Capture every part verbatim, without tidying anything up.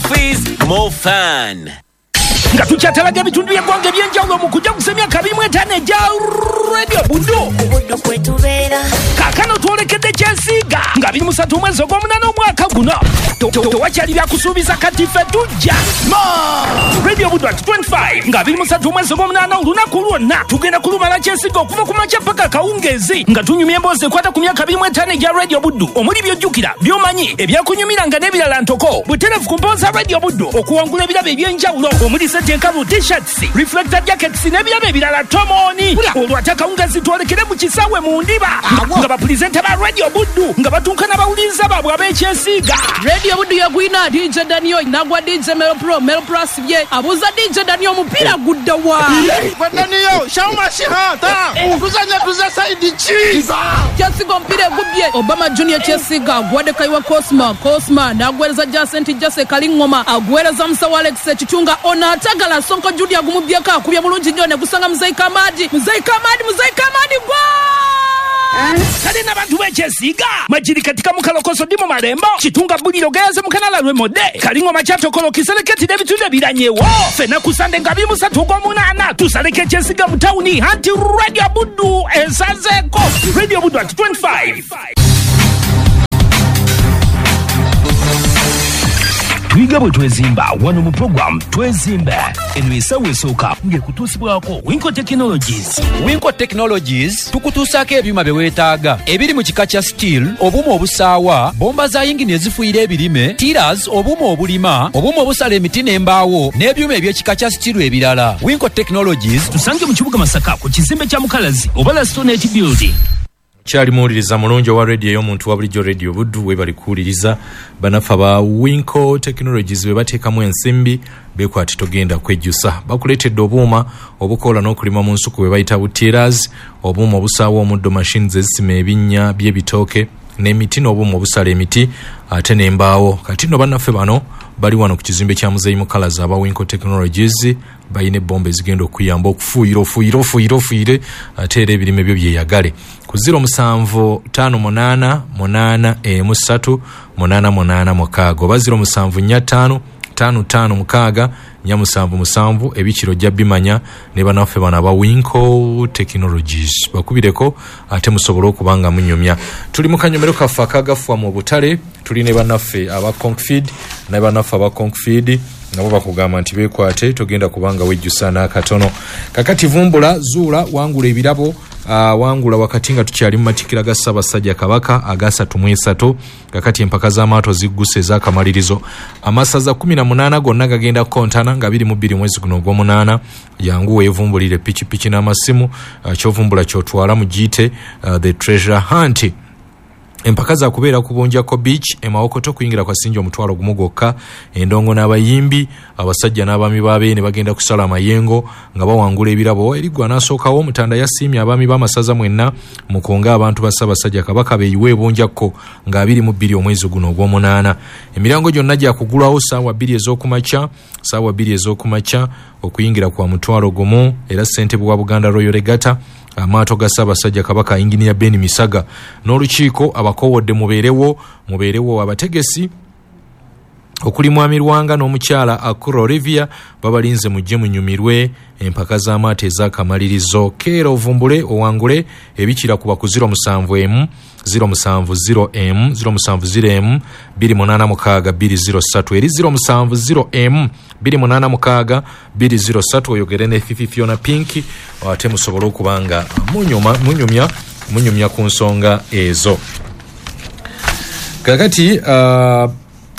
Fees, more fun. Nga tukyatalaga ebitundu by'eggwanga eby'enjawulo mu kujaguza emyaka abiri mu etaano egya Radio Buddu. Kaakano twolekedde Kyesiiga nga abiri mu ssatu omwezi ogw'omunaana omwaka guno. Tewakyali byakusuubiza, kati ffe tujja. Radio Buddu at twenty-five nga abiri mu ssatu omwezi ogw'omunaana, olunaku lwonna tugenda kulumala Kyesiiga okuva ku makya paka kawungeezi nga tunyumya emboozi ekwata ku myaka abiri mu etaano egya Radio Buddu, omuli by'ojjukira, by'omanyi, ebyakunyumiranga n'ebirala ntoko. Butereevu ku mboozi za Radio Buddu okuwangula ebirabo eby'enjawulo omuli sente enkalu, T-shirts, reflector jackets n'ebirabo ebirala tomooni. Olwo ate akawungeezi twolekere mu kisaawe mu Ndiba nga bapulezenta ba Radio Buddu nga batuuka n'abawuliriza baabwe ab'Ekyesiiga. Radio Buddu yagwina D J Daniel nagwa D J Melo Pro. Melo Pro asibye, abuuza D J Daniel, omupiira gudda wa? Daniel shauma shihata tuzanya tuza side ki? Kyesiga omupiira egubbye Obama Junior. Kyesiga agwadde Kayiwa Cosma. Cosma n'agwereza Jacent Jase Kalingoma, agwereza Musawo Alex Ekitunga. Ono atagala Sonko Judi agumubyeko, akubye bulungi nnyo ne gusanga Muzeyi Kamadi. Muzeyi Kamadi, Muzeyi Kamadi gwa! Kale n'abantu b'Ekyesiiga Majiri katika mukalokoso dimo malembo Kitunga Buliro Gayaze Mukanala Lwemode Kalingoma Kyatokolo Kiseleketi n'ebitundu ebiranyewo, ffenna ku Sande nga abiri mu ssatu ogw'omunaana tusaleko Ekyesiiga mu tawuni anti Radio Buddu ensazeeko. Radio Buddu at twenty-five. Tuyiga bwe twezimba wano mu program Twezimba. Eno esawa esooka ng'ekutuusibwako Winco Technologies. Winco Technologies tukutuusaako ebyuma bye weetaaga ebiri mu kika kya steel, obuuma obusaawa, bomba za yingini ezifuuyira ebirime, tillers, obuuma obulima, obuuma obusala emiti n'embaawo, n'ebyuma eby'ekika kya steel ebirala. Winco Technologies. Tusange mu kibuga Masaka ku kizimbe kya Mukalazi oba Lastonet Building. Kyali muwuliriza mulungi owa radio ey'omuntu wa bulijjo, Radio Buddu, webali kuwuliriza. Banaffe aba Winco Technologies be bateekamu ensimbi, bekwati togenda kwejjusa. Bakuleetedde obuuma obukola n'okulima mu nsuku bwe bayita bu tillers, obuuma obusaawa omuddo, machines ezisima ebinnya by'ebitooke n'emiti, n'obuuma obusala emiti ate n'embaawo. Kati nno bannaffe bano bali wano ku kizimbe kya Muzeeyi Mukalazi. Aba Winco Technologies balina ebomba ezigenda okuyamba okufuuyira, ofuuyire, ofuuyire, ofuuyire ate era ebirime byo byeyagale. Ku zero musanvu ttaano munaana munaana emu ssatu munaana munaana mukaaga oba zero musanvu nnya ttaano ttaano ttaano mukaaga nnya musanvu musanvu. Ebikiro ojja bimanya ne bannaffe bano aba Winco Technologies, bakubireko ate musobole okuba nga munyumya. Tuli mu kanyomero kaffe akagafwa mu butale, tuli ne bannaffe aba Concfeed. Ne bannaffe aba Concfeed nabo bakugamba nti beekwate, togenda kubanga wejjusa n'akatono. Kakati vumbula, zuula, wangula ebirabo, uh, wangula wakati nga tukyali mu matikkira ga Ssaabasajja Kabaka agasatu mu esatu. Kakati empaka z'amaato zigguse ez'akamalirizo. Amasaza kumi na munaana gonna gagenda kukontana nga biri mu bbiri mwezi guno ogw'omunaana. Yangu weevumbulire pikipiki n'amasimu. uh, kyovumbula kyotwala mu giyite uh, the treasure hunt. Empaka za kubeera ku Bunjako Beach e Mawokoto, kuyingira kwa sinja omutwalo gumu gwokka. Endongo n'abayimbi, abasajja n'abaami b'abeene bagenda kusala amayengo nga bawangula ebirabo. Eriggwa n'asookawo Omutanda yasiimye abaami b'amasaza mwenna mukunga abantu ba Ssaabasajja Kabaka beeyiwe Ebunjakko nga abiri mu bbiri omwezi guno ogw'omunaana. Emiryango gyonna gyakugulwawo ssaawa bbiri ez'okumakya, ssaawa bbiri ez'okumakya. Okuyingira kwa mutwalo gumu. Era ssentebe wa Buganda Royal Regatta, amaato ga Ssaabasajja Kabaka, Inginiya Ben Misaga n'olukiiko abakoowodde mubeerewo, mubeerewo. Abategesi okuli Mwami Lwanga n'omukyala Akura Olivia babalinze, mujje munyumirwe empaka z'amaato ez'akamalirizo. Keera ovumbule owangule ebikira kuba ku zero musanvu emu zero musanvu zero m zero musanvu zero m bbiri munaana mukaaga bbiri zero ssatu, eri zero musanvu zero m bbiri munaana mukaaga bbiri zero ssatu, oyogere ne Fifi Fiona Pink ate musobole okuba nga munyuma munyumya munyumya ku nsonga ezo. Kakati uh,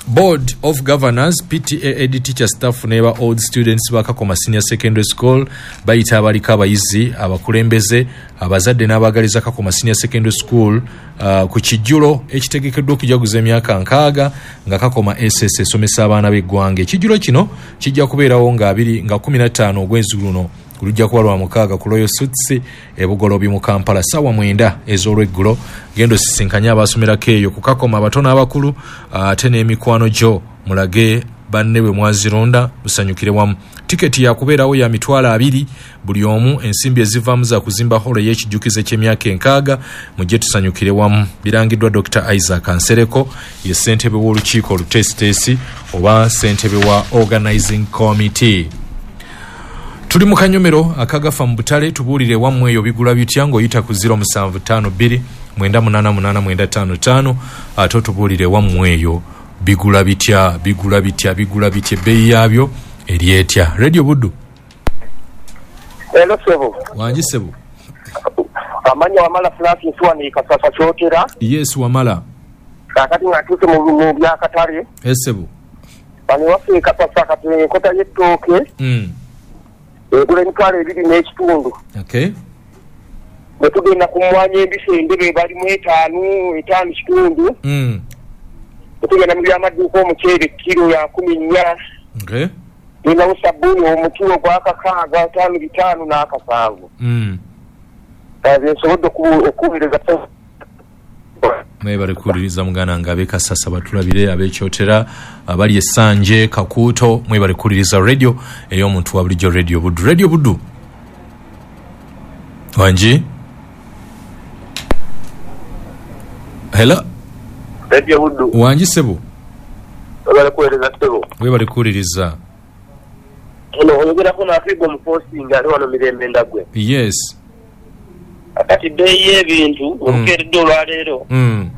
Board of Governors, P T A, ed teacher, staff neba old students bakakoma Senior Secondary School bayita abaliko abayizi, abakulembeze, abazadde n'abaagaliza Kakoma Senior Secondary School uh, ku kijjulo ekitegekeddwa okujaguza emyaka nkaaga nga Kakoma S S esomesa abaana b'eggwanga. Ekijjulo kino kijja kubeerawo nga abiri nga kumi na ttaano ogwezi guno, lujja kuba lwa mukaaga, ku Royal Suites e Bugolobi mu Kampala, ssaawa mwenda ez'olweggulo. Genda osisinkanye abasomerako eyo ku Kakoma, abato n'abakulu, ate n'emikwano gyo mulage. banne bwe mwazironda musanyukire wamu. Tiketi yakubeerawo ya mitwalo abiri buli omu, ensimbi ezivaamu za kuzimba holo y'ekijjukizo ky'emyaka enkaaga. Mujje tusanyukire wamu. Birangiddwa Doctor Isaac Nsereko, ye ssentebe w'olukiiko oluteesiteesi oba ssentebe wa organizing committee. Tuli mu kanyomero akagafa mu butale, tubuulire wammwe eyo bigula bitya ng'oyita ku zero musanvu ttaano bbiri mwenda munaana munaana mwenda ttaano ttaano, ate otubuulire wammwe eyo bigula bitya, bigula bitya, bigula bitya, ebbeeyi yaabyo eri etya. Radio Buddu. Hello sebo. Wangi sebo. Amanya Wamala Francis wani Kasasa Kyotera. Yes Wamala. Kakati ngatuuse mu byakatale. Yes sebo. Bano waffe Kasasa kati enkota y'ettooke. Mm. Egula emitwalo ebiri n'ekitundu. Okay. Bwe tugenda ku mmwanyi embisi endebe balimu etaano, etaano kitundu. Mm. Bwe tugenda mu byamaduuka omuceere kiro ya nkumi nnya. Okay. Ninawo sabbuuni omukiro gwa kakaaga ttaano bitaano n'akasanvu. Mm. Bye nsobodde okuweereza. Mwebale kuwuliriza muganda nga ab'e Kasasa batulabire, ab'ekyotera, abali e Ssanje, Kakuuto, mwebale kuwuliriza radio ey'omuntu wa bulijjo, Radio Buddu. Radio Buddu. Wangi? Hello? Radio Buddu. Wangi sebo. Mwebale kuwuliriza sebo. Mwebale kuwuliriza. Ono oyogerako n'afiibwa omupostinga ali wano Mirembe Ndagwe. Yes. Akati bbeeyi y'ebintu olukeeredde olwaleero. Mm.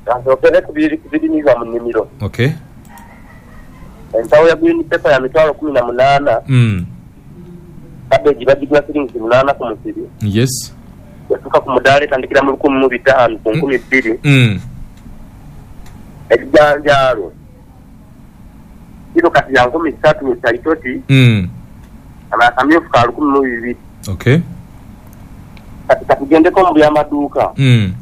Kansookere ku birimibwa mu nnimiro. Okay. Ensawo ya green pepper ya mitwalo kumi na munaana. Mm. Cabbage bagigula siringi munaana ku musiri. Yes. Yatuuka ku mudaala etandikira mu lukumi mu bitaano ku nkumi bbiri. Mm. Ebijanjaalo kiro kati ya nkumi ssatu mu kyalitoti. Mm. Akamyufu ka lukumi mu bibiri. Okay. Kati katugendeko mu byamaduuka. Mm.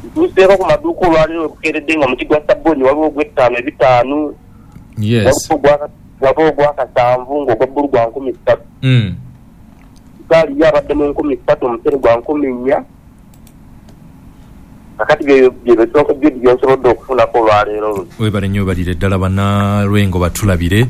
Ntuuseeko ku maduuka olwaleero bukeeredde nga muti gwa sabbuuni waliwo ogw'ettaano ebitaano. Yes. Waliwo ogw'akasanvu ng'ogwa bbulu gwa nkumi ssatu. Mm. Sukaali yo abadde mu nkumi ssatu, omuceere gwa nkumi nnya. Kakati bye bisonko byo byensobodde okufunako olwaleero. Webale nnyo, webalire ddala bannalwengo batulabire.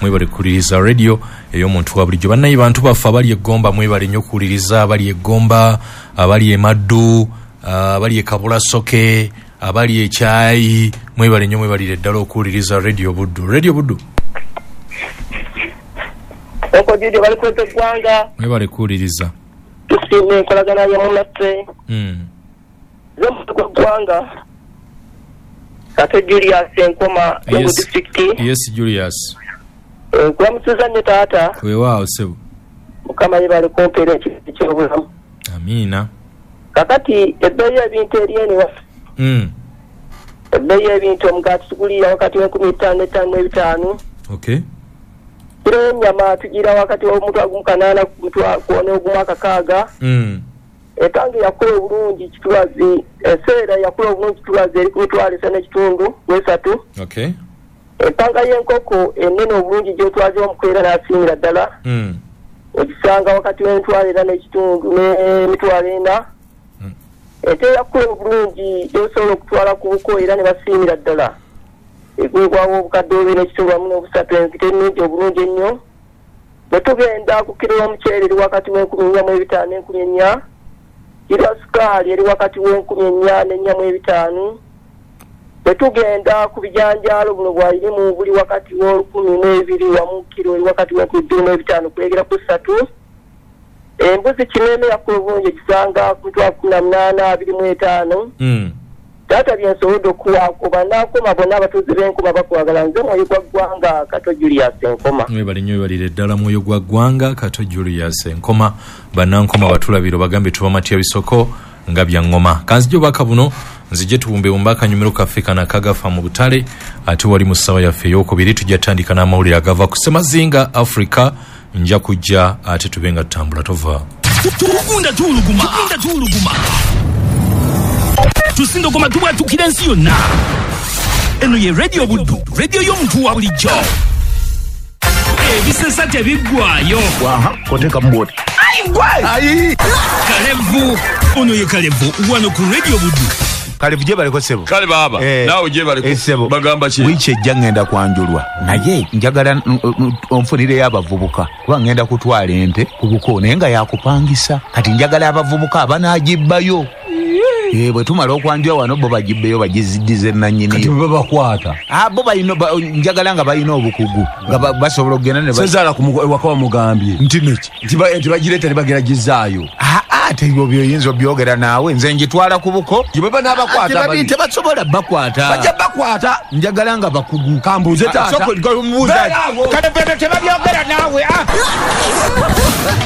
Mwebale kuwuliriza radio ey'omuntu wa bulijjo. Bannaye bantu baffe abali e Gomba mwebale nnyo okuwuliriza, abali e Gomba, abali e Maddu, abali e Kabulasoke, abali e Kyayi, mwebale nnyo, mwebalire ddala okuwuliriza Radio Buddu. Radio Buddu. Oko Jude bali kweta eggwanga. Mwebale kuwuliriza. Tusiime enkolagana ya munnaffe. Mm. Nze omuntu gw'eggwanga. Kato Julius Enkoma, Lwengo district. Yes Julius. Nkulamusiza nnyo taata. Weewaawo ssebo. Mukama yebale kumpeera ekintu ky'obulamu. Amiina. Kakati ebbeeyi y'ebintu eri eno ewaffe. Mm. Ebbeeyi y'ebintu omugaati tugulira wakati w'enkumi ttaano etaano mu ebitaano. Okay. Kiro y'ennyama tugira wakati w'omutwalo gumu kanaana ku mutwalo n'ogumu akakaaga. Mm. Etange yakula obulungi kitulazi, eseera yakula obulungi kitulazi eri ku mitwalo esatu n'ekitundu ku esatu. Okay. Empanga y'enkoko ennene obulungi gy'otwaze omukwera n'asingira ddala. Mm. Ogisanga wakati w'emitwalo ena n'ekitundu n'emitwalo ena. Mm. Ente yakula obulungi gy'osobola okutwala ku buko era ne basiimira ddala. Egwegwawo obukadde bubiri n'ekitundu wamu n'obusatu, ente ennungi obulungi ennyo. Bwe tugenda ku kiro y'omuceere eri wakati w'enkumi nnya mu ebitaano n'enkumi ennya. Kiro ya sukaali eri wakati w'enkumi ennya n'ennya mu ebitaano. Bwe tugenda ku bijanjaalo buno bwayirimu buli wakati w'olukumi n'ebiri wamu kiro eri wakati w'enkumi bbiri n'ebitaano kulegera ku ssatu. Embuzi kineeme yakula obulungi egisanga ku mitwalo kkumi na munaana abiri mu etaano. Mm. Taata bye nsobodde okuwaako bannankoma bonna abatuuze b'Enkoma bakwagala. Nze mwoyo gwa ggwanga Kato Julius Enkoma. Mwebale nnyo, webalire ddala mwoyo gwa ggwanga Kato Julius Enkoma. Bannankoma batulabire bagambe tubamatya bisoko nga bya ngoma. Kanzije obubaka buno nzije tubumbebumbe akanyumiro kaffe kano akagafa mu butale, ate wali mu ssaawa yaffe ey'okubiri tujja tandika n'amawulire agava ku Ssemazinga Africa. Nja kujja ate tube nga tutambula tova. Tugunda tuwuluguma, tugunda tuwuluguma. Tusindogoma tubwatukira ensi yonna. Eno ye Radio Buddu, radio y'omuntu wa bulijjo. Ebisesa tebiggwayo. Waha, koteka mboti. Ayi! Kalevu, ono ye Kalevu wano ku Radio Buddu. Kale buje baliko sebo. Kale baba. Eh, Nawe je baliko. Eh, sebo. Bagamba ki? Wiiki ejja ngenda kwanjulwa. Naye njagala onfunireyo abavubuka. Kuba ngenda kutwala ente ku buko naye nga yakupangisa. Kati njagala abavubuka abanaagibbayo. Eh, bwe tumala okwanjula wano bo bagibbeyo bagiziddize nannyini. Kati bwe bakwata. Ah, bo balina njagala nga balina obukugu nga basobola okugenda ne Sezaala ku waka wamugambye. Nti neki? Nti ba nti bagireeta ne bagera gizaayo. Ah, ah, ebyo byoyinza obyogera naawe nze njitwala ku buko. Gye baba n'abakwata bali. Tebasobola bakwata. Bajja bakwata. Njagala nga bakugu. Kambuuze taata. Soko mubuuza. Kale bwe tebabyogera naawe. Ah.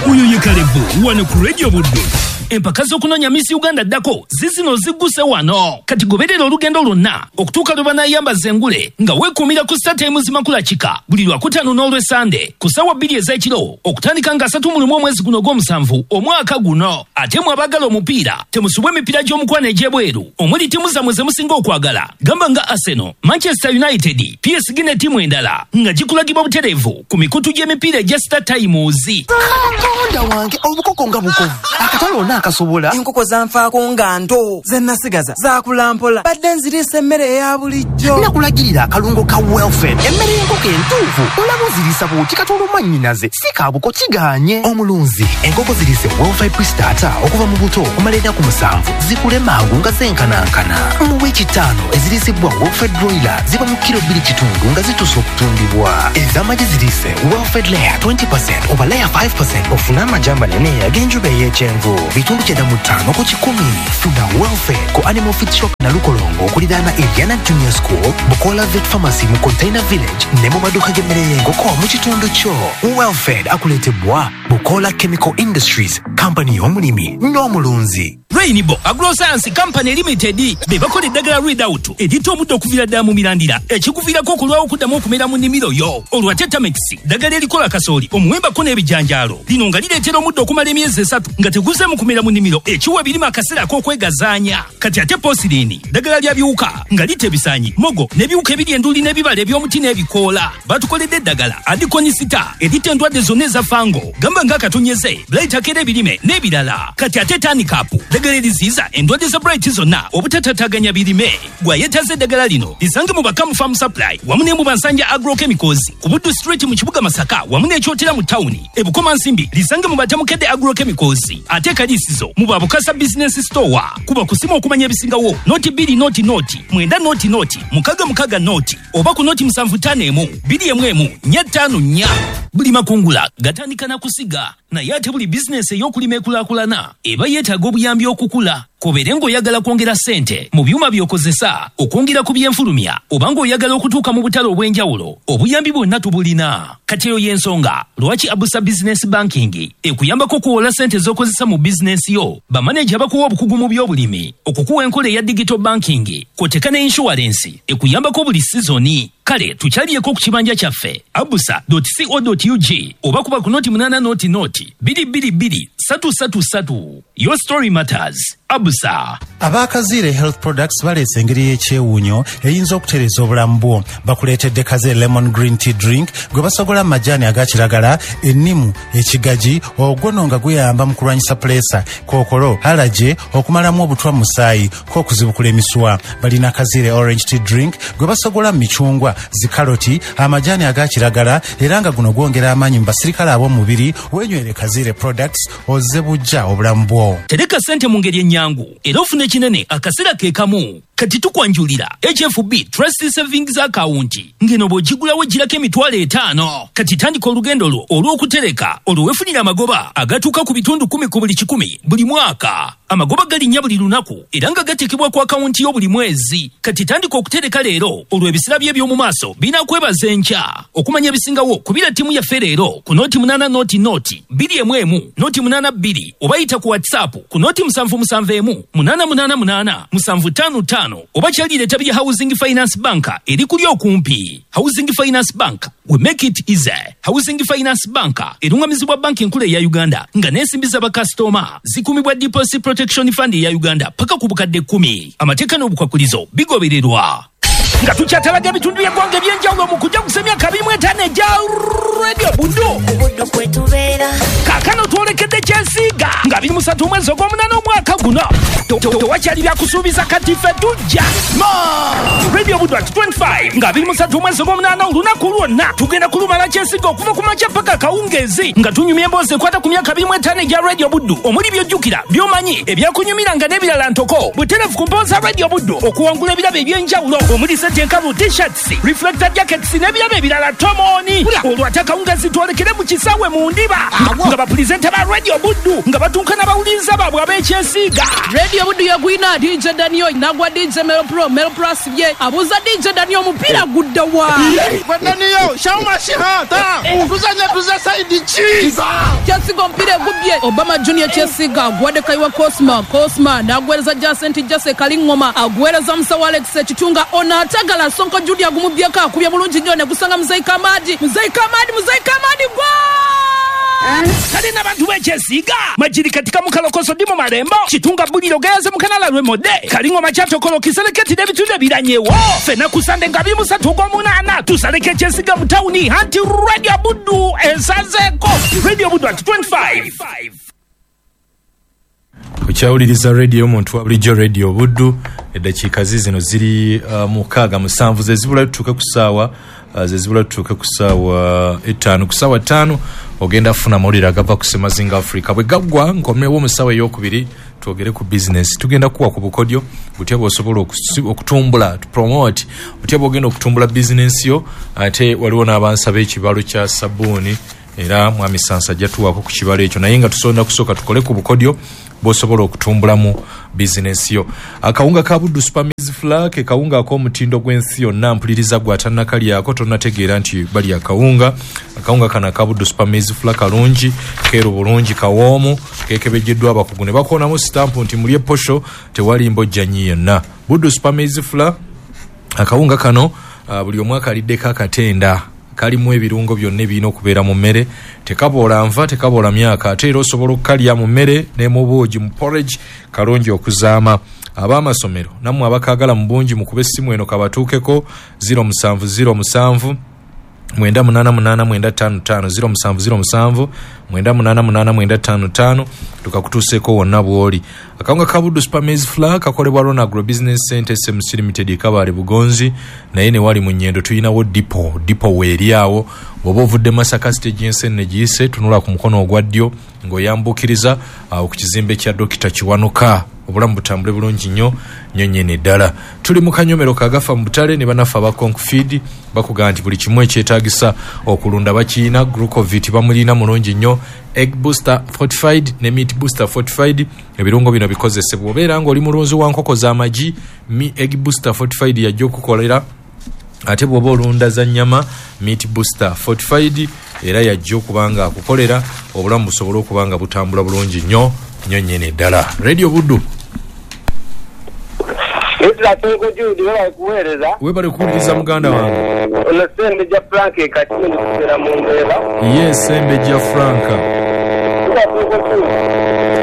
Uyo ye Kalevu wano ku Radio Buddu. Empaka z'okunoonya Miss Uganda ddako zizino zigguse wano. Kati goberera olugendo lwonna okutuuka lwe banaayambaza engule nga weekuumira ku Star Times Makula Kika buli Lwakutaano n'Olwesande ku ssaawa bbiri ez'ekiro okutandika nga asatu mu lumu omwezi guno ogw'omusanvu omwaka guno. Ate mwe abaagala omupiira temusubwa emipiira gy'omukwano egy'ebweru omuli ttiimu zammwe ze musinga okwagala gamba nga Arsenal, Manchester United, P S G ne ttiimu endala nga gikulagibwa butereevu ku mikutu gy'emipiira egya Star Times. Katonda wange obukoko nga bukovu akatale ona akasobola enkoko zanfaako nga nto ze nasigaza zaakula mpola badde nziriisa emmere eya bulijjo nakulagirira akalungo ka Welfare emmere y'enkoko entuufu olaba oziriisa bw'oti katono mwannyinaze si kaabuko kigaanye omulunzi enkoko ziriise Welfare Pre-Starter okuva mu buto okumala ennaku musanvu zikule mangu nga zenkanankana mu wiiki ttaano eziriisibwa Welfare Broiler ziba mu kiro bbiri kitundu nga zituuse okutundibwa ez'amagi ziriise Welfare Layer twenty percent oba Layer five percent ofune amagi amanene ag'enjuba ey'ekyenvu bitundu kyenda mu ttaano ku kikumi. Funa Welfare ku Animal Feed Shop Nalukolongo okuliraana Eliana Junior School, Bukola Vet Pharmacy mu Container Village ne mu maduuka g'emmere y'enkoko mu kitundu kyo. Welfare akuleetebwa Bukola Chemical Industries, kampani y'omulimi n'omulunzi. Rainbow Agroscience Company Limited be bakola eddagala Readout eritta omuddo okuviira ddala mu mirandira ekikuviirako okulwawo okuddamu okumera mu nnimiro yo. Olwa Tetamix ddagala erikola kasooli omuwembako n'ebijanjaalo lino nga lireetera omuddo okumala emyezi esatu nga teguzeemu kumera mu nnimiro ekiwa ebirime akaseera ak'okwegazaanya. Kati ate Posirini ddagala lya biwuka nga litta ebisaanyi, mogo n'ebiwuka ebiri enduli n'ebibala eby'omuti n'ebikoola. Batukoledde eddagala Adikonisita eritta endwadde zonna eza fango gamba ng'akatonyeze, blight akera ebirime n'ebirala. Kati ate Tanikapu ddagala eriziyiza endwadde za blight zonna obutatataganya birime. Gwayetaze eddagala lino lisange mu Bakamu Farm Supply wamu ne mu Bansanja Agrochemicals ku Buddu Street mu kibuga Masaka wamu n'Ekyotera mu tawuni. E Bukomansimbi lisange mu Batamukedde Agrochemicals ate Kalisizo mu Babukasa Business Store. Kuba kusimu okumanya ebisingawo noti bbiri noti noti mwenda noti noti mukaga mukaga noti oba ku noti musanvu ttaano emu bbiri emu emu nnya ttaano nnya. Buli makungula gatandika na kusiga naye ate buli bizinesi ey'okulima ekulaakulana eba yeetaaga obuyambi okukula. Kobeere ng'oyagala kwongera ssente mu byuma by'okozesa, okwongera ku byenfulumya oba ng'oyagala okutuuka mu butale obw'enjawulo, obuyambi bwonna tubulina. Kati eyo y'ensonga lwaki Abusa Business Banking ekuyambako okuwola ssente z'okozesa mu bizinesi yo, bamaneja bakuwa obukugu mu by'obulimi, okukuwa enkola eya digital banking, kw'oteeka ne insurance ekuyambako buli sizoni. Kale tukyaliyeko ku kibanja kyaffe abusa dot co dot ug oba kuba ku noti munaana noti noti bbiri bbiri bbiri ssatu ssatu ssatu. Your story matters. Abusa. Abakaziire Health Products baleese engeri y'ekyewuunyo eyinza okutereeza obulamu bwo. Bakuleetedde Kaziire Lemon Green Tea Drink gwe basogola mu majaani aga kiragala, ennimu, ekigagi, ogwono nga guyamba mu kulwanyisa puleesa, kookolo, alaje, okumalamu obutwa mu musaayi, k'okuzibukula emisuwa. Balina Kaziire Orange Tea Drink gwe basogola mu micungwa, zikaloti, amajaani aga kiragala era nga guno gwongera amaanyi mu basirikale ab'omubiri. Weenywere Kaziire Products ozze bujja obulamu bwo. Tereka ssente mu ngeri ennyangu era ofune kinene akaseera ke kamu. Kati tukwanjulira H F B Trust Savings Account ngeno bw'ogigulawo egirako emitwalo etaano. Kati tandika olugendo lwo olw'okutereka olwo weefunira amagoba agatuuka ku bitundu kumi ku buli kikumi buli mwaka. Amagoba galinnya buli lunaku era nga gateekebwa ku akawunti yo buli mwezi. Kati tandika okutereka leero olwo ebisira bye eby'omu maaso binakwebaza enkya. Okumanya ebisingawo kubira ttiimu yaffe leero ku noti munaana noti noti bbiri emu emu noti munaana bbiri oba yita ku WhatsApp ku noti musanvu musanvu emu munaana munaana munaana musanvu ttaano ttaano oba kyalira ettabi lya Housing Finance Bank eri kuli okumpi. Housing Finance Bank, we make it easy. Housing Finance Bank erungamizibwa banki enkulu eya Uganda nga n'ensimbi z'abakasitoma zikumibwa Deposit Protection Fund eya Uganda paka ku bukadde kkumi. Amateeka n'obukwakulizo bigobererwa. Nga tukyatalaga ebitundu by'eggwanga eby'enjawulo mu kujaguza emyaka abiri mu etaano egya Radio Buddu. Kaakano twolekedde Kyesiiga nga abiri mu ssatu omwezi ogw'omunaana omwaka guno. Tewakyali byakusuubiza, kati ffe tujja. Radio Buddu at twenty-five nga abiri mu ssatu omwezi ogw'omunaana, olunaku lwonna tugenda kulumala Kyesiga okuva ku makya paka kawungeezi nga tunyumya emboozi ekwata ku myaka abiri mu etaano egya Radio Buddu, omuli by'ojjukira, by'omanyi, ebyakunyumiranga n'ebirala ntoko. Butereevu ku mpooza Radio Buddu okuwangula ebirabo eby'enjawulo omuli sente enkalu, t-shirts, reflector jackets n'ebirabo ebirala tomooni. Olwo ate akawungeezi twolekere mu kisaawe mu ndiba nga bapulizenta ba Radio Buddu nga batuuka n'abawuliriza baabwe ab'Ekyesiga. Radio Buddu yagwina D J Daniel nagwa D J Melo Pro Melo Pro asibye abuuza D J Daniel omupiira gudda wa? Daniel shauma shihata tuzanya tuza side ki? Kyesiga omupiira egubbye Obama Junior Kyesiga aguwadde Kayiwa Cosma, Cosma n'aguweereza Jacent Jase Kalingoma, aguweereza Musawo Alex Ekitunga, ono atagala Sonko Judy agumubbyeko, akubye bulungi nnyo ne gusanga Muzeyi Kamadi, Muzeyi Kamadi, Muzeyi Kamadi gwa! Kale n'abantu b'Ekyesiga majiri katika mukalokoso dimo malembo Kitunga buliro gayaze mukanala lwemodde Kalingoma kyatokolo kiseleketi n'ebitundu ebiranyewo. Ffenna ku Sande nga abiri mu ssatu ogw'omunaana tusaleko Ekyesiga mu tawuni anti Radio Buddu esazeeko. Radio Buddu at twenty-five. Okyawuliriza radio omuntu wa bulijjo Radio Buddu. Eddakiika zino ziri uh, mukaaga musanvu zezibula tutuuke ku ssaawa uh, zezibula tutuuke ku ssaawa etaano. Ku ssaawa ttaano ogenda kufuna amawulire agava ku Semazinga Africa. Bwe gaggwa nkomewo mu ssaawa ey'okubiri twogere ku bizinesi. Tugenda kuwa ku bukodyo butya bw'osobola okutumbula, to promote, butya bw'ogenda okutumbula bizinesi yo. Ate waliwo n'abansaba ekibalo kya sabbuuni, era mwami Sansa ajja tuwaako ku kibalo ekyo, naye nga tusonda kusooka tukole ku bukodyo bw'osobola okutumbulamu bizinesi yo. Akawunga ka Buddu Super Maize Flour ke kawunga ak'omutindo gw'ensi yonna. Mpuliriza gwe atannakalyako tonnategeera nti bali akawunga. Akawunga kano aka Buddu Super Maize Flour kalungi, keeru bulungi, kawoomu, keekebejjeddwa abakugu ne bakoonamu sitampu nti mulye posho, tewali mbojjanyi yonna. Buddu Super Maize Flour akawunga kano uh, buli omu akaliddeko akatenda, kalimu ebirungo byonna ebirina okubeera mu mmere, tekaboola nva, tekaboola myaka, ate era osobola okukalya mu mmere ne mu buugi, mu porridge, kalungi okuzaama. Ab'amasomero nammwe abakaagala mu bungi mukube essimu eno kabatuukeko zero musanvu zero musanvu mwenda munaana munaana mwenda ttaano ttaano zero musanvu zero musanvu mwenda munaana munaana mwenda ttaano ttaano tukakutuuseeko wonna bw'oli. Akawunga ka Buddu Super Maize Flour kakolebwa Rona Agro Business Center S M C Limited Kabale Bugonzi, naye ne wali mu Nyendo tulinawo dipo, dipo weeri awo. Bw'oba ovudde Masaka stage y'ensenne giyise, tunula ku mukono ogwa ddyo ng'oyambukiriza awo ku kizimbe kya Dokita Kiwanuka. Obulamu butambule bulungi nnyo nnyo nnyini ddala. Tuli mu kanyomero kagafa mu butale ne bannaffe aba Concfeed bakugamba nti buli kimu ekyetaagisa okulunda bakiyina. Glucovit bamulina mulungi nnyo, egg booster fortified ne meat booster fortified. Ebirungo bino bikozesebwa obeera ng'oli mulunzi wa nkoko z'amagi, mi egg booster fortified yajja okukolera. Ate bw'oba olunda za nnyama, meat booster fortified era yajja okuba nga akukolera, obulamu busobole okuba nga butambula bulungi nnyo nnyo nnyini ddala. Radio Buddu. Webale kuwuliriza muganda wange. Ono Sembejja Frank Kakindo kubeera mu mbeera. Ye Sembejja Frank.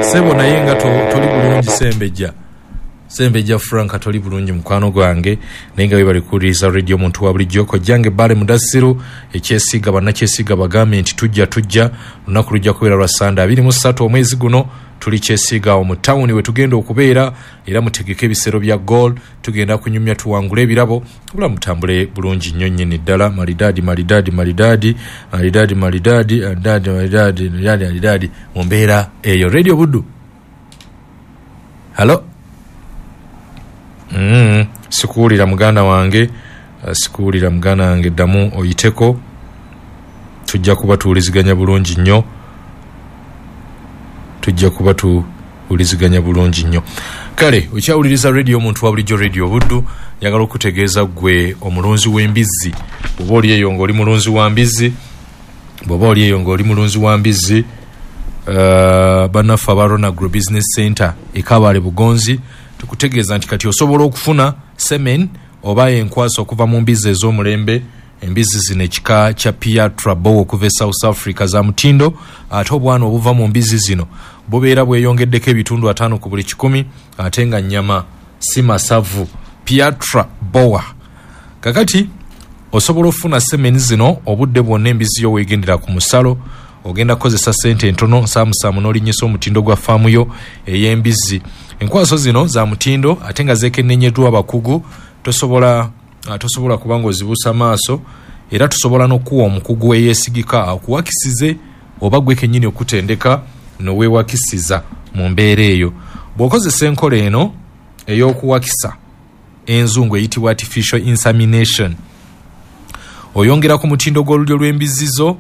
Sebo naye nga toli bulungi Sembejja. Sembejja Frank toli bulungi mukwano gwange, naye nga webale kuwuliriza radio omuntu wa bulijjo. Kojjange Bale Mudassiru Ekyesiga, bannakyesiga bagambe nti tujja tujja, lunaku lujja kubeera lwa Sande abiri mu ssatu omwezi guno. Tuli Kyesiga awo mu tawuni we tugenda okubeera, era mutegeke ebisero bya goal, tugenda kunyumya tuwangule ebirabo, obulamu butambule bulungi nnyo nnyini ddala. Malidaadi malidaadi malidaadi malidaadi malidaadi malidaadi malidaadi malidaadi malidaadi mu mbeera eyo. Radio Buddu. Halo. Mm, sikuwulira muganda wange, sikuwulira muganda wange, ddamu oyiteko, tujja kuba tuwuliziganya bulungi nnyo. Tujja kuba tuwuliziganya bulungi nnyo. Kale okyawuliriza radio omuntu wa bulijjo Radio Buddu. Njagala okutegeeza ggwe omulunzi w'embizzi, bw'oba oli eyo ng'oli mulunzi wa mbizzi, bw'oba oli eyo ng'oli mulunzi wa mbizzi, uh, bannaffe aba Rona Agro Business Center e Kabale Bugonzi tukutegeeza nti kati osobola okufuna semen oba enkwasa okuva mu mbizzi ez'omulembe. Embizzi zino ekika kya Piatra Bow okuva e South Africa za mutindo, ate obwana obuva mu mbizzi zino bubeera bweyongeddeko ebitundu ataano ku buli kikumi, ate nga nnyama si masavu. Piatra Boa. Kakati osobola okufuna semen zino obudde bwonna embizzi yo weegendera ku musalo, ogenda kukozesa ssente entono nsaamusaamu n'olinnyisa omutindo gwa faamu yo ey'embizzi. Enkwaso zino za mutindo ate nga zeekenneenyeddwa abakugu, tosobola tosobola kubanga ozibuusa maaso, era tusobola n'okuwa omukugu eyeesigika akuwakisize oba gwe kennyini okutendeka noweewakisiza mu mbeera eyo. Bw'okozesa enkola eno ey'okuwakisa enzungu eyitibwa artificial insemination, oyongera ku mutindo gw'olulyo lw'embizzi zo,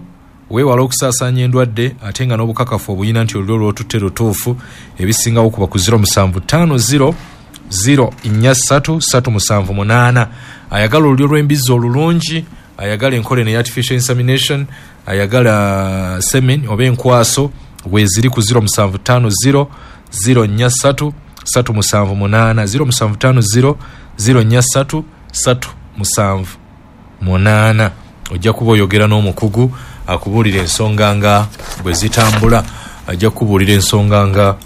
weewala okusaasaanya endwadde ate nga n'obukakafu obuyina nti olulyo lw'otutte lutuufu. Ebisingawo kuba ku zero musanvu ttaano zero zero nnya ssatu ssatu musanvu munaana. Ayagala olulyo lw'embizzi olulungi, ayagala enkola eno eya artificial insemination, ayagala semen oba enkwaso, weeziri ku zero musanvu ttaano zero zero nnya ssatu ssatu musanvu munaana, zero musanvu ttaano zero zero nnya ssatu ssatu musanvu munaana. Ojja kuba oyogera n'omukugu akubuulira ensonga nga bwe zitambula, ajja kukubuulira ensonga nga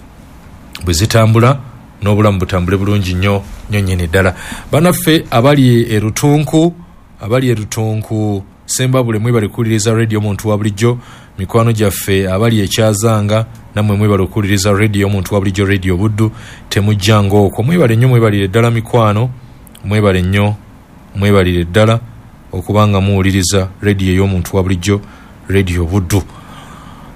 bwe zitambula n'obulamu butambule bulungi nnyo nnyo nnyini ddala. Bannaffe abali e Rutunku, abali e Rutunku Sembabule, mwebale kuwuliriza radio omuntu wa bulijjo. Mikwano gyaffe abali e Kyazanga, nammwe mwebale okuwuliriza radio omuntu wa bulijjo, radio Buddu, temujjanga okwo. Mwebale nnyo, mwebalire ddala mikwano, mwebale nnyo, mwebalire ddala okubanga muwuliriza radio ey'omuntu wa bulijjo, radio Buddu.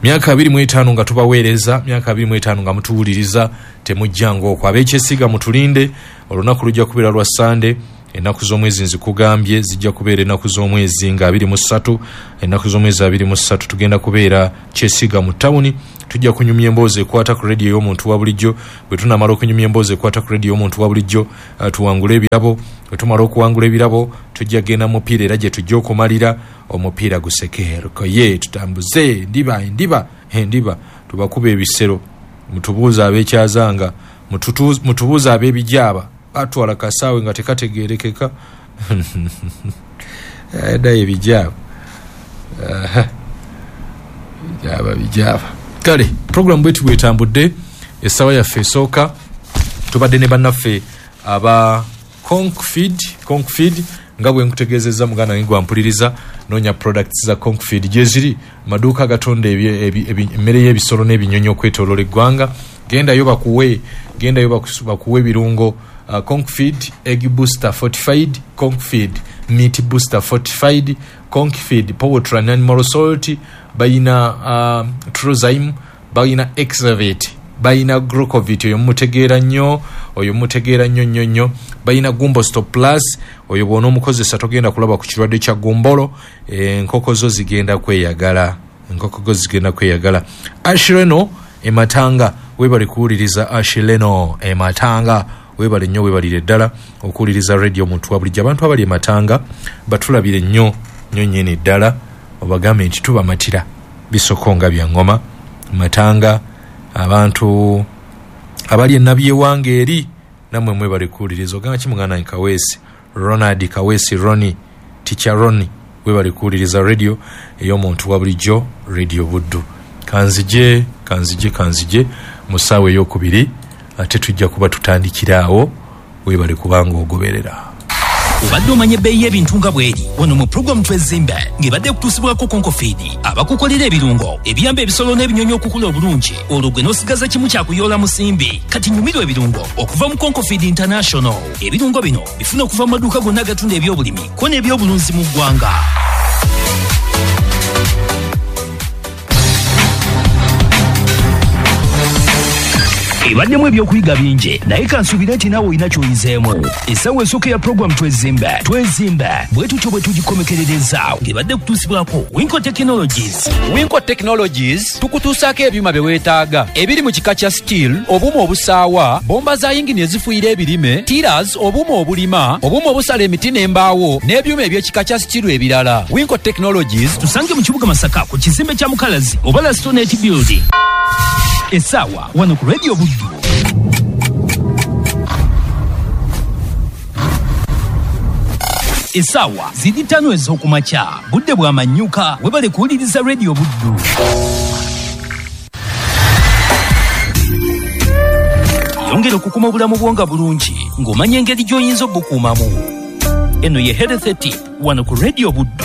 Myaka abiri mu etaano nga tubaweereza, myaka abiri mu etaano nga mutuwuliriza, temujjanga okwo. Ab'ekyesiga mutulinde, olunaku lujja kubeera lwa Sande, ennaku z'omwezi nzikugambye zijja kubeera ennaku z'omwezi nga abiri mu ssatu, ennaku z'omwezi abiri mu ssatu tugenda kubeera Kyesiga mu tawuni. Tujja kunyumya emboozi ekwata ku radio ey'omuntu wa bulijjo. Bwe tunamala okunyumya emboozi ekwata ku radio ey'omuntu wa bulijjo, uh, tuwangule ebirabo. Bwe tumala okuwangula ebirabo, tujja genda mupiira era gye tujja okumalira omupiira gusekeereko. Ye tutambuze endiba endiba endiba, tubakuba ebisero, mutubuuze ab'ekyazanga, mutubuuze ab'ebijaaba, batwala kasaawe nga tekategeerekeka. Ddayo ebijaaba, bijaaba bijaaba. Kale program bwetu bwetambudde, essaawa yaffe esooka tubadde ne bannaffe aba Concfeed. Concfeed nga bwe nkutegeezezza muganda wange gwampuliriza, noonya products za Concfeed gye ziri maduuka agatonda emmere y'ebisolo n'ebinyonyi okwetooloola eggwanga. Gendayo bakuwe, gendayo bakuwe ebirungo. Uh, Concfeed egg booster fortified, Concfeed meat booster fortified, Concfeed poultry and animal salt, bayina uh, Trozyme, bayina Exavate, bayina Glucovit, oyo mutegeera nnyo, oyo mutegeera nnyo nnyo nnyo, bayina Gumbosto Plus, oyo bw'onoomukozesa togenda kulaba ku kirwadde kya gumbolo, enkoko zo zigenda kweyagala, enkoko zo zigenda kweyagala. Ashireno ematanga, webale kuwuliriza Ashireno ematanga, webale nnyo, webalire ddala okuwuliriza radio omuntu wa bulijjo. Abantu abali ematanga batulabire nnyo nnyo nnyini ddala, obagambe nti tubamatira bisoko nga bya ngoma. Matanga, abantu abali enabyewange eri, nammwe mwebale kuwuliriza. Ogamba ki muganda wange Kaweesi, Ronald Kaweesi, Roni, Teacher Roni, webale kuwuliriza radio ey'omuntu wa bulijjo, radio Buddu. Kanzije, kanzije, kanzije mu ssaawa ey'okubiri, ate tujja kuba tutandikira awo. Webale kubanga ogoberera. Obadde omanya ebbeeyi y'ebintu nga bw'eri wano mu pulogulaamu Twezimbe ng'ebadde ekutuusibwako Concfeed, abakukolera ebirungo ebiyamba ebisolo n'ebinyonyi okukula obulungi, olwo gwe n'osigaza kimu kya kuyoola musimbi. Kati nyumirwa ebirungo okuva mu Concfeed International. Ebirungo bino bifuna okuva mu maduuka gonna agatunda ebyobulimi ko n'ebyobulunzi mu ggwanga. Ebaddemu ebyokuyiga bingi, naye kansuubire nti naawe olina ky'oyizeemu. Essaawa esooka ya pulogulaamu Twezimbe, Twezimbe bwe tutyo bwe tugikomekerereza ng'ebadde kutuusibwako Winco Technologies. Winco Technologies tukutuusaako ebyuma bye weetaaga ebiri mu kika kya steel, obuuma obusaawa, bomba za yingini ezifuuyira ebirime, tillers, obuuma obulima, obuuma obusala emiti n'embaawo, n'ebyuma eby'ekika kya steel ebirala. Winco Technologies tusange mu kibuga Masaka ku kizimbe kya Mukalazi oba Lastonet Building. Essaawa wano ku Radio Buddu. Essaawa ziri ttaano ez'okumakya, budde bwa manyuka. Webale kuwuliriza Radio Buddu. Yongera okukuma obulamu bwo nga bulungi ng'omanya engeri gy'oyinza obukuumamu. Eno ye Health Tip wano ku Radio Buddu.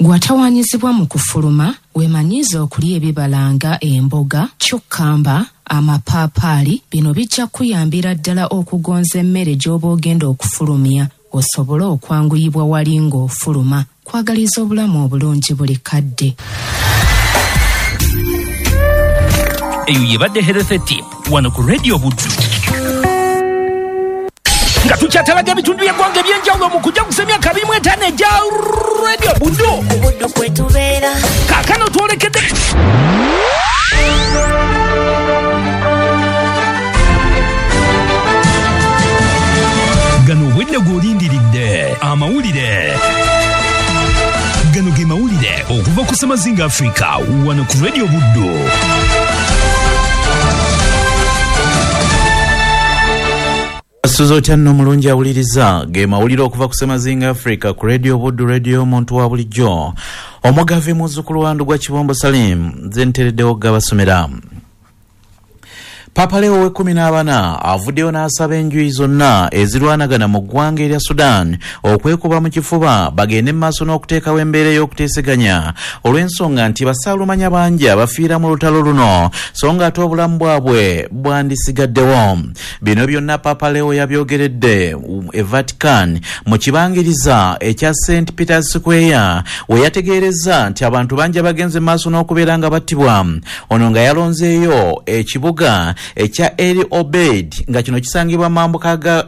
Gw'atawaanyizibwa mu kufuluma, weemanyiize okulya ebibala nga emboga, kyukkamba, Amapaapaali, bino bijja kuyambira ddala okugonza emmere gy'oba ogenda okufulumya osobole okwanguyibwa wali ng'ofuluma. Kwagaliza obulamu obulungi buli kadde. Eyo yebadde Health Tip wano ku Radio Buddu. Nga tukyatalaga ebitundu by'eggwanga eby'enjawulo mu kujaguza emyaka abiri mu etaano egya Radio Buddu. Ku Buddu kwe tubeera. Kaakano twolekedde gano obwedde gw'olindiridde amawulire. Gano ge mawulire okuva ku Ssemazinga Africa wano ku Radio Buddu. Asuza otya nno omulungi awuliriza ge mawulire okuva ku Ssemazinga Africa ku Radio Buddu, radio omuntu wa bulijjo. Omugavi muzzukulu wa Ndugwa Kibombo Salim nze ntereddewo gabasomera. Papa Leo w'ekkumi n'abana avuddeyo n'asaba enjuyi zonna ezirwanagana mu ggwanga erya Sudan okwekuba mu kifuba bagende mu maaso n'okuteekawo embeera ey'okuteeseganya olw'ensonga nti basaalumanya bangi abafiira mu lutalo luno so nga ate obulamu bwabwe bwandisigaddewo. Bino byonna Papa Leo yabyogeredde e Vatican mu kibangiriza ekya Saint Peter's Square we yategeerezza nti abantu bangi abagenze mu maaso n'okubeera nga battibwa. Ono nga yalonzeeyo ekibuga ekya Eli Obeid nga kino kisangibwa mambuka ga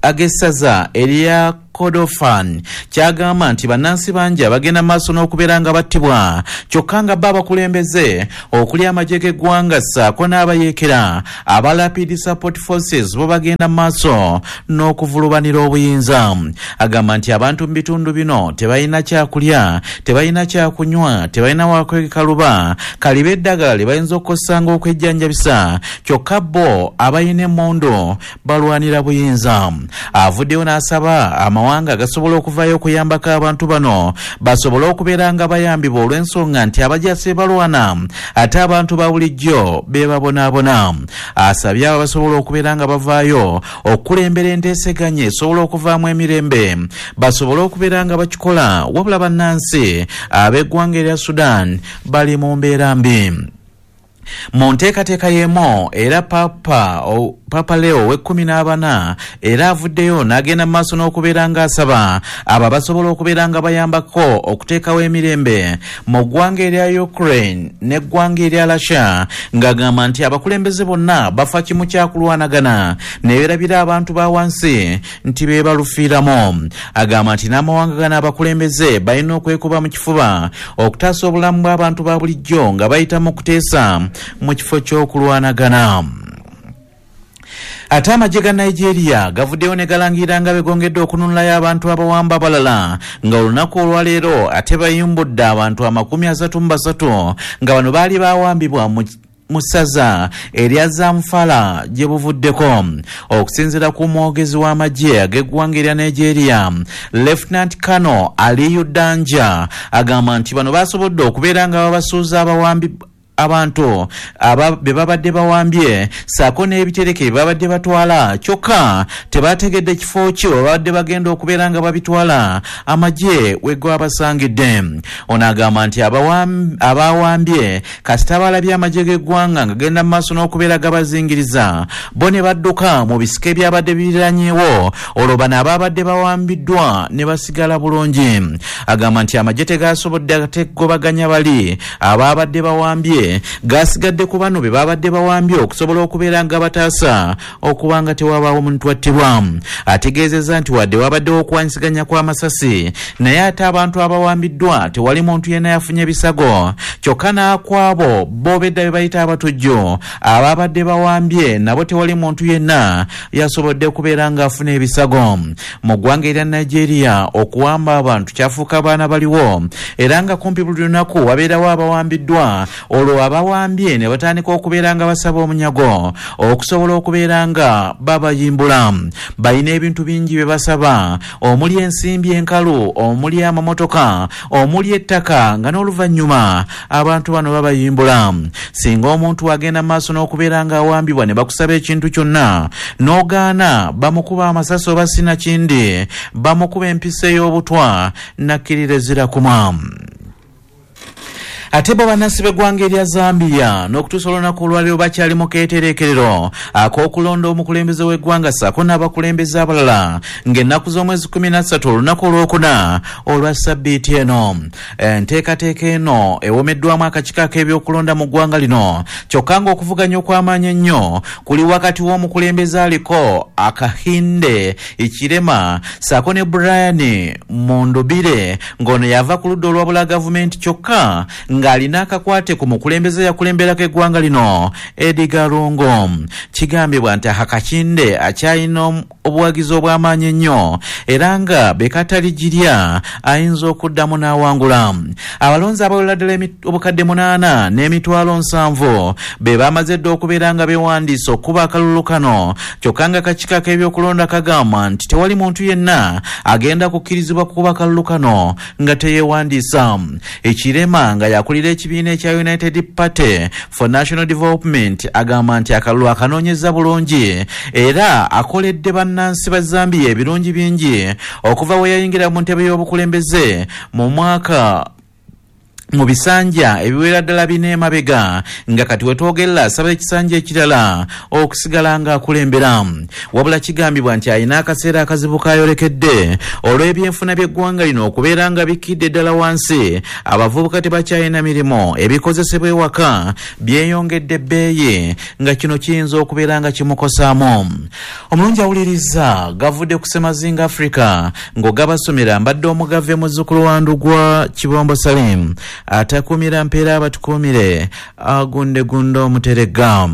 ag'essaza erya Kordofan kyagamba nti bannansi bangi abagenda maaso n'okubeera nga battibwa kyokka nga bo abakulembeze okuli amagye g'eggwanga ssaako n'abayeekera aba Rapid Support Forces bo bagenda maaso n'okuvulubanira obuyinza. Agamba nti abantu mu bitundu bino tebalina kyakulya, tebalina kyakunywa, tebalina wakwekaluba kaliba eddagala lye bayinza okukozesa ng'okwejjanjabisa kyokka bo abalina emmundu balwanira buyinza. Avuddeyo n'asaba amawanga gasobola okuvaayo okuyambako abantu bano basobole okubeera nga bayambibwa olw'ensonga nti abajasi balwana ate abantu ba bulijjo be babonaabona. Asabye abo basobola okubeera nga bavaayo okukulembera enteeseganya esobola okuvaamu emirembe basobole okubeera nga bakikola, wabula bannansi ab'eggwanga erya Sudan bali mu mbeera mbi. Mu nteekateeka y'emu era Papa o, Papa Leo w'ekkumi n'abana era avuddeyo n'agenda mu maaso n'okubeera ng'asaba abo abasobola okubeera nga bayambako okuteekawo emirembe mu ggwanga erya Ukraine n'eggwanga erya Russia ng'agamba nti abakulembeze bonna bafa kimu kyakulwanagana ne beerabira abantu ba wansi nti be balufiiramu. Agamba nti n'amawanga gano abakulembeze balina okwekuba mu kifuba okutaasa obulamu bw'abantu ba bulijjo nga bayita mu kuteesa mu kifo ky'okulwanagana. Ate amagye ga Nigeria gavuddeyo ne galangira nga begongedde okununulayo abantu abawamba abalala nga olunaku olwaleero ate bayimbudde abantu amakumi asatu mu basatu nga bano baali bawambibwa mu mu ssaza erya Zamfara gye buvuddeko. Okusinziira ku mwogezi w'amagye ag'eggwanga erya Nigeria, Lieutenant Colonel Aliyu Danja agamba nti bano basobodde okubeera nga babasuuza abawambi abantu aba be babadde bawambye ssaako n'ebitereke bye babadde batwala kyokka tebategedde kifo ki we babadde bagenda okubeera nga babitwala amagye we gwabasangidde. Ono agamba nti abawambye kasita balabye amagye g'eggwanga nga genda mu maaso n'okubeera gabazingiriza bo ne badduka mu bisike ebyabadde biriranyeewo olwo bano ababadde bawambiddwa ne basigala bulungi. Agamba nti amagye tegasobodde ategobaganya bali ababadde bawambye gasigadde ku bano be babadde bawambye okusobola okubeera nga bataasa okuba nga tewabaawo muntu attibwa. Ategeezezza nti wadde wabaddewo okuwanyisiganya kw'amasasi naye ate abantu abawambiddwa tewali muntu yenna yafunye bisago kyokka n'akwabo bo bedda be bayita abatujju ababadde bawambye nabo tewali muntu yenna yasobodde kubeera ng'afuna ebisago. Mu ggwanga erya Nigeria okuwamba abantu kyafuuka baana baliwo era nga kumpi buli lunaku wabeerawo abawambiddwa olwo abawambye ne batandika okubeera nga basaba omunyago okusobola okubeera nga babayimbula. Balina ebintu bingi bye basaba omuli ensimbi enkalu, omuli amamotoka, omuli ettaka nga n'oluvannyuma abantu bano babayimbula. Singa omuntu agenda mu maaso n'okubeera nga awambibwa ne bakusaba ekintu kyonna n'ogaana bamukuba amasasi oba sinakindi bamukuba empisa ey'obutwa nakkirira ezira kumwa. Ate bo bannansi b'eggwanga erya Zambia n'okutuusa olunaku olwaleero bakyali mu keetereekerero ak'okulonda omukulembeze w'eggwanga ssaako n'abakulembeze abalala ng'ennaku z'omwezi kumi na ssatu olunaku olwokuna olwa ssabbiiti eno. Enteekateeka eno ewomeddwamu akakiiko ak'ebyokulonda mu ggwanga lino, kyokka ng'okuvuganya okw'amaanyi ennyo kuli wakati w'omukulembeze aliko Akahinde Ikirema ssaako ne Brian Mundubire ng'ono yava ku ludda olwabula gavumenti kyokka ng'alina akakwate ku mukulembeze yakulemberako eggwanga lino Edgar Lungu. Kigambibwa nti Akakinde akyalina obuwagizi obw'amaanyi ennyo era nga bekataligirya ayinza okuddamu n'awangula. Abalonzi abawera ddala obukadde munaana n'emitwalo nsanvu be bamaze dda okubeera nga beewandiisa okuba akalulu kano, kyokka nga akakiiko ak'ebyokulonda kagamba nti tewali muntu yenna agenda kukkirizibwa kukuba akalulu kano nga teyeewandiisa. Ekirema nga yakulira ekibiina ekya United Party for National Development agamba nti akalulu akanoonyeza bulungi era akoledde bannansi ba Zambia ebirungi bingi okuva we yayingira mu ntebe y'obukulembeze mu mwaka mu bisanja ebiwera ddala bina emabega, nga kati wetwogerera asaba ekisanja ekirala okusigala ng'akulembera. Wabula kigambibwa nti alina akaseera akazibu k'ayolekedde olw'ebyenfuna by'eggwanga lino okubeera nga bikkidde ddala wansi, abavubuka tebakyalina mirimu, ebikozesebwa ewaka byeyongedde ebbeeyi nga kino kiyinza okubeera nga kimukosaamu. Omulungi awuliriza gavudde ku Ssemazinga Africa ng'ogabasomera mbadde omugave muzzukulu wa Ndugwa Kibombo Salim atakumira mpeera abatukuumire agundegunde omuterega.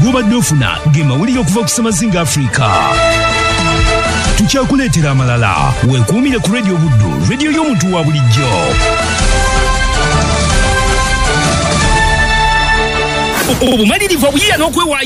Gubadde ofuna ge mawulire okuva ku Ssemazinga Africa. Tukyakuleetera amalala. Weekuumire ku Radio Buddu, radio y'omuntu wa bulijjo. Obumalirivu obuyiiya n'okwewaayo.